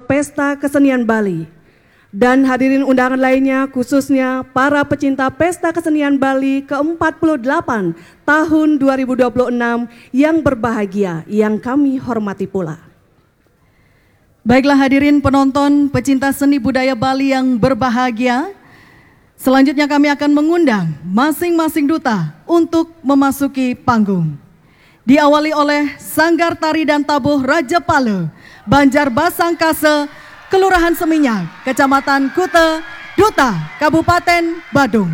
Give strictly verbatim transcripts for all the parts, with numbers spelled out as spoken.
Pesta Kesenian Bali. Dan hadirin undangan lainnya, khususnya para pecinta Pesta Kesenian Bali ke empat puluh delapan tahun dua ribu dua puluh enam yang berbahagia, yang kami hormati pula. Baiklah, hadirin penonton, pecinta seni budaya Bali yang berbahagia, selanjutnya kami akan mengundang masing-masing duta untuk memasuki panggung. Diawali oleh Sanggar Tari dan Tabuh Raja Pala, Banjar Basangkasa, Kelurahan Seminyak, Kecamatan Kuta, Duta Kabupaten Badung.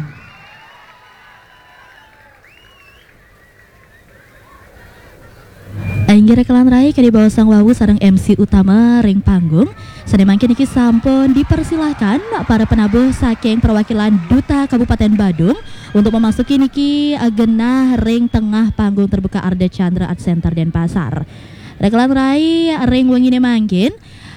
Inggih rekan rai, kadi baosang wau sareng M C utama ring panggung. Sane mangkin niki sampun dipersilahkan para penabuh saking perwakilan Duta Kabupaten Badung untuk memasuki niki, eh, genah ring tengah panggung terbuka Ardha Candra Art Center Denpasar. Rekan rai, ring wengine mangkin,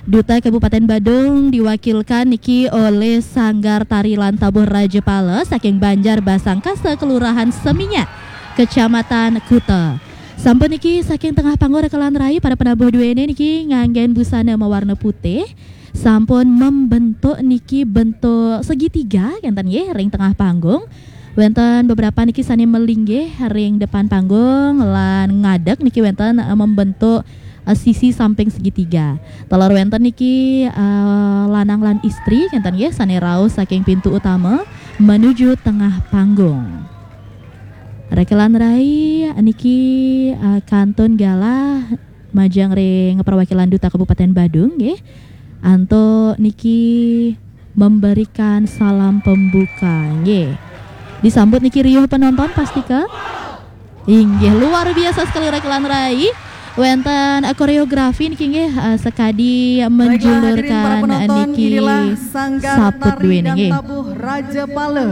Duta Kabupaten Badung diwakilkan niki oleh Sanggar Tari lan Tabuh Raja Pala saking Banjar Basangkasa, Kelurahan Seminyak, Kecamatan Kuta. Sampun niki saking tengah panggung rekan rai, para penabuh duene niki nganggen busana mawarna putih. Sampun membentuk niki bentuk segitiga kenten nggih ring tengah panggung. Wenten beberapa niki sane melinggih ring depan panggung lan ngadeg niki wenten, eh, membentuk, eh, sisi samping segitiga. Taler wenten niki, eh, lanang lan istri kenten nggih sane rauh saking pintu utama menuju tengah panggung. Rekan rai, niki, eh, kantun galah majeng ring perwakilan Duta Kabupaten Badung nggih. Antuk niki memberikan salam pembuka nggih. Disambut niki riuh penonton pastika. Inggih, luar biasa sekali rekan rai. Wenten, eh, koreografi niki nggih, eh, sekadi menjulurkan, eh, niki saput duene nggih. Baiklah, hadirin para penonton, inilah Sanggar Tari dan Tabuh Raja Pala,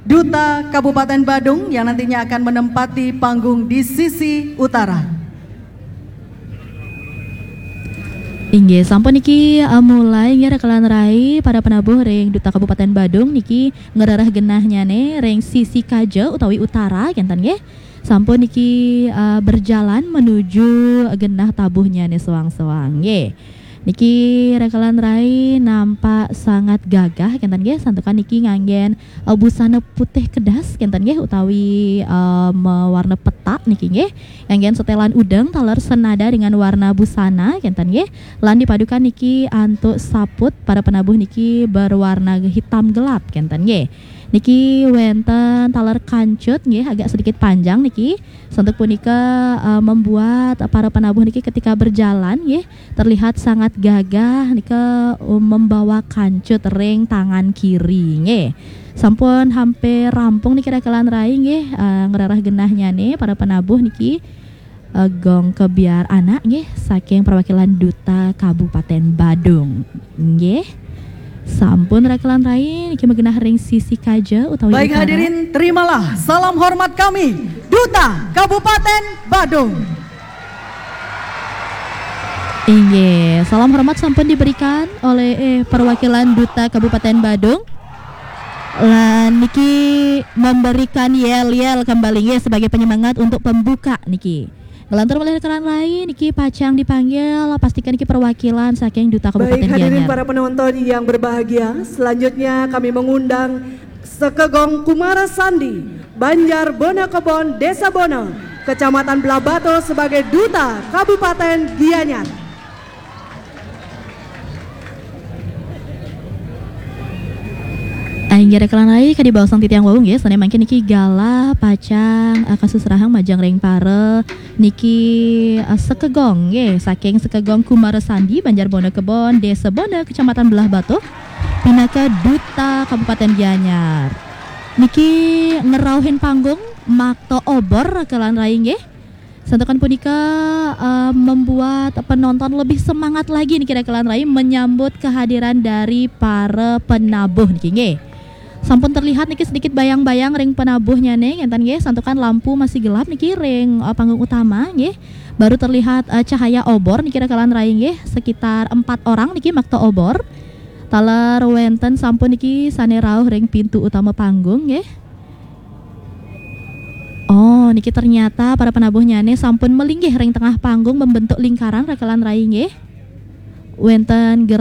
Duta Kabupaten Badung yang nantinya akan menempati panggung di sisi utara. Inggih, sampun niki, eh, mulai nggih rekan rai, para penabuh ring Duta Kabupaten Badung niki ngrereh genahnyane ring sisi kaja utawi utara kenten nggih. Sampun niki, eh, berjalan menuju genah tabuhnyane soang-soang nggih. Niki rekan rai nampak sangat gagah kenten nggih, santukan niki nganggen, eh, busana putih kedas kenten nggih utawi, eh, mawarna petak niki nggih. Nganggen setelan udeng taler senada dengan warna busana kenten nggih. Lan dipadukan niki antuk saput, para penabuh niki berwarna hitam gelap kenten nggih. Niki wenten taler kancut nggih, agak sedikit panjang niki. Santuk punika, eh, membuat para penabuh niki ketika berjalan nggih terlihat sangat gagah nika, um, membawa kancut ring tangan kiri nggih. Sampun hampir rampung niki rekan rai nggih, eh, ngrereh genahnyane para penabuh niki, eh, gong kebyar anak nggih saking perwakilan Duta Kabupaten Badung nggih. Sampun rekan rai niki magenah ring sisi kaja utawi utara. Baik hadirin, terimalah salam hormat kami, Duta Kabupaten Badung. Inggih, salam hormat sampun diberikan oleh, eh, perwakilan Duta Kabupaten Badung. Lan niki memberikan yel-yel kembali nggih sebagai penyemangat untuk pembuka niki. Ngelantur malih rekan rai niki pacang dipanggil, pastika niki perwakilan saking Duta Kabupaten Gianyar. Baik hadirin para penonton yang berbahagia, selanjutnya kami mengundang Sekegong Kumara Sandi, Banjar Bona Kebon, Desa Bona, Kecamatan Blahbato sebagai Duta Kabupaten Gianyar. Inggih rekan rai, kadi baosang titiang wau nggih, sane mangkin niki galah pacang, eh, kasusrahang majeng ring para niki, eh, Sekegong nggih, saking Sekegong Kumara Sandi, Banjar Bona Kebon, Desa Bona, Kecamatan Blahbato, pinaka Duta Kabupaten Gianyar. Niki ngerauhin panggung makta obor rekan rai nggih. Santukan punika, eh, membuat penonton lebih semangat lagi niki rekan rai menyambut kehadiran dari para penabuh niki nggih. Sampun terlihat niki sedikit bayang-bayang ring penabuhnyane ngenten nggih, santukan lampu masih gelap niki ring, eh, panggung utama nggih. Baru terlihat, eh, cahaya obor niki rekan rai nggih, sekitar empat orang niki makta obor. Taler wenten sampun niki sane rauh ring pintu utama panggung nggih. Oh, niki ternyata para penabuhnyane sampun melinggih ring tengah panggung membentuk lingkaran rekan rai nggih. Wenten